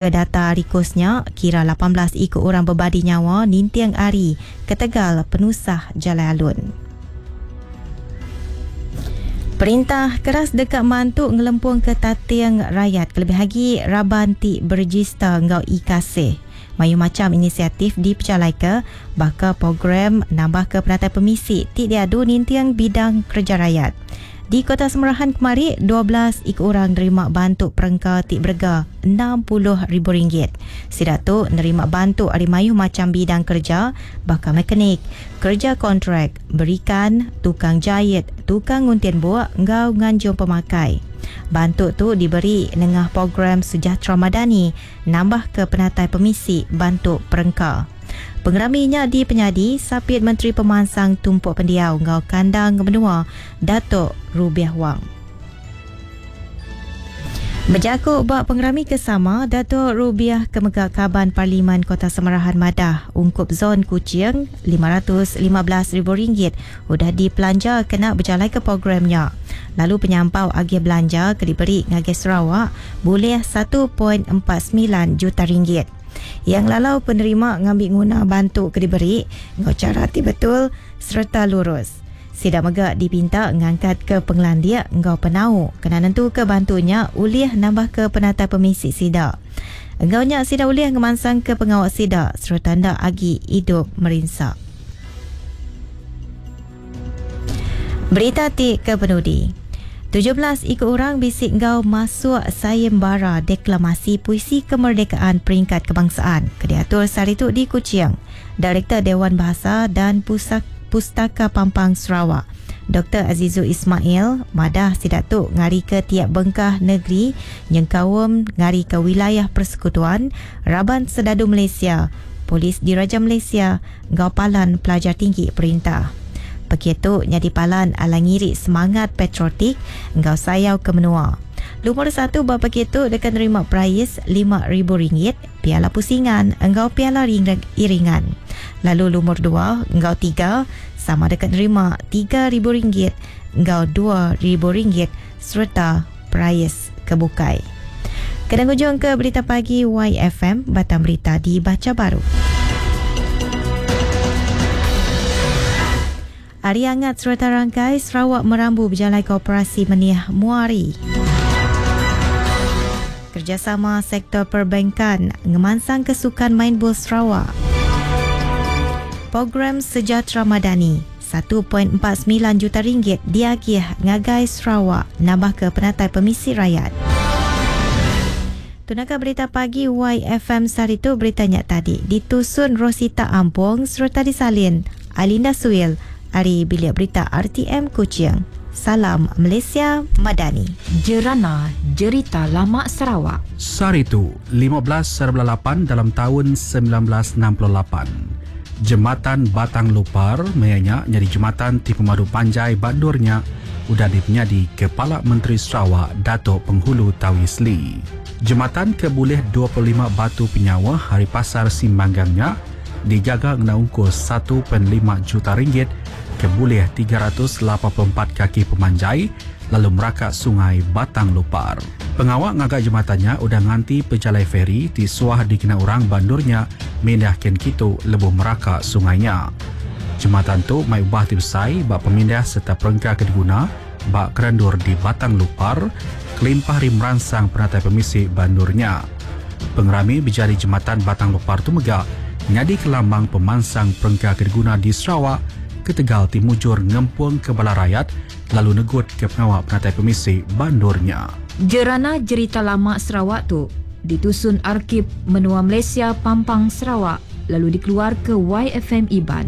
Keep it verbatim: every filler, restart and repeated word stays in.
Data rikusnya kira lapan belas ikut orang berbadi nyawa ninting ari ketegal penusah jalai alun. Perintah keras dekat mantu ngelempung ke tating rakyat kelebih lagi raban ti berregister ngau e-kasih. Mayu macam inisiatif diperjalai ke baka program nambah ke penatai pemisi ti diadu ninting bidang kerja rakyat. Di Kota Semerahan kemari, dua belas ikut orang nerima bantu perengka ti berega enam puluh ribu ringgit. Sidak tu nerima bantu ari mayu macam bidang kerja baka mekanik, kerja kontrak, berikan, tukang jahit, tukang nguntin buak, ngau nganjung pemakai. Bantu tu diberi nengah program Sejahtera Madani nambah ke penatai pemisi bantu perengka. Pengeraminya di penyadi Sapit Menteri Pemansang Tumpuk Pendiau ngau Kandang Menua Datuk Rubiah Wang. Berjakuk bak pengerami kesama Datuk Rubiah Kemega Kaban Parlimen Kota Semerahan Madah ungkup zon Kuching lima ratus lima belas ribu ringgit udah dipelanja kena berjalan ke programnya. Lalu penyampau agi belanja ke diberi ngagai Sarawak boleh satu perpuluhan empat sembilan juta ringgit. Yang lalau penerima ngambil guna bantu ke diberi ngau cara ti betul serta lurus. Sidak megak dipinta ngangkat ke penglandia ngau penau kena nentu ke bantunya ulih nambah ke penata pemisi sidak. Engau nya sidak ulih ngemansang ke pengawak sidak serta ndak agi hidup merinsak. Berita ti ke penudi. tujuh belas ikut orang bisik ngau masuk sayembara deklamasi puisi kemerdekaan peringkat kebangsaan. Kediatur sehari tu di Kuching. Direktur Dewan Bahasa dan Pusak, Pustaka Pampang Sarawak, Doktor Azizul Ismail, madah sidak tu ngari ke tiap bengkah negeri nyengkaum ngari ke wilayah persekutuan, Raban Sedadu Malaysia, Polis Diraja Malaysia, ngau Palan Pelajar Tinggi Perintah. Begitu nyadi palan ala ngiri semangat patriotik ngau sayau ke menua. Lumur satu bab begitu dekat nerima prais lima ribu ringgit, piala pusingan engau piala ring- iringan. Lalu lumur dua engau tiga sama dekat nerima tiga ribu ringgit engau dua ribu ringgit serta prais kebukai. Kena hujung ke berita pagi Y F M, Batam Berita dibaca baru. Hari hangat serta rangkai Sarawak merambu berjalan ke operasi Meniah Muari. Kerjasama sektor perbankan ngemansang kesukan main bol Sarawak. Program Sejahtera Madani satu perpuluhan empat sembilan juta ringgit diagih ngagai Sarawak nambah ke penatai pemisi rakyat. Tunaka berita pagi Y F M sehari tu beritanya tadi ditusun Rosita Ampong serta disalin Alinda Suil. Ari Bilik Berita R T M Kuching. Salam Malaysia Madani. Jerana Jerita Lama Sarawak. Sehari tu, lima belas seribu lapan dalam tahun sembilan belas enam puluh lapan. Jembatan Batang Lupar mayanya jadi jembatan ti pemadu panjai bandurnya udah dipenyadi Kepala Menteri Sarawak Datuk Penghulu Tawi Sli. Jembatan ke boleh dua puluh lima batu penyawa hari pasar Simbanggangnya dijaga ngena ungkus satu perpuluhan lima juta ringgit ke boleh tiga ratus lapan puluh empat kaki pemanjai lalu merakak sungai Batang Lupar. Pengawak ngagak jembatannya udah nganti pejalai feri ti suah dikena orang bandurnya mindah ken kitu lebuh merakak sungainya. Jembatan tu mai ubah ti besai bak pemindah serta perengka ke diguna bak kerendur di Batang Lupar kelimpah ri meransang penatai pemisi bandurnya. Pengerami berjari jembatan Batang Lupar tu megak nyadi kelambang pemansang perengka ke diguna di Sarawak ketegal timujur ngempung ke bala rakyat lalu negut ke pengawak penatai pemisi bandurnya. Jerana Jerita Lama Sarawak tu ditusun Arkib Menua Malaysia Pampang Sarawak lalu dikeluar ke Y F M Iban.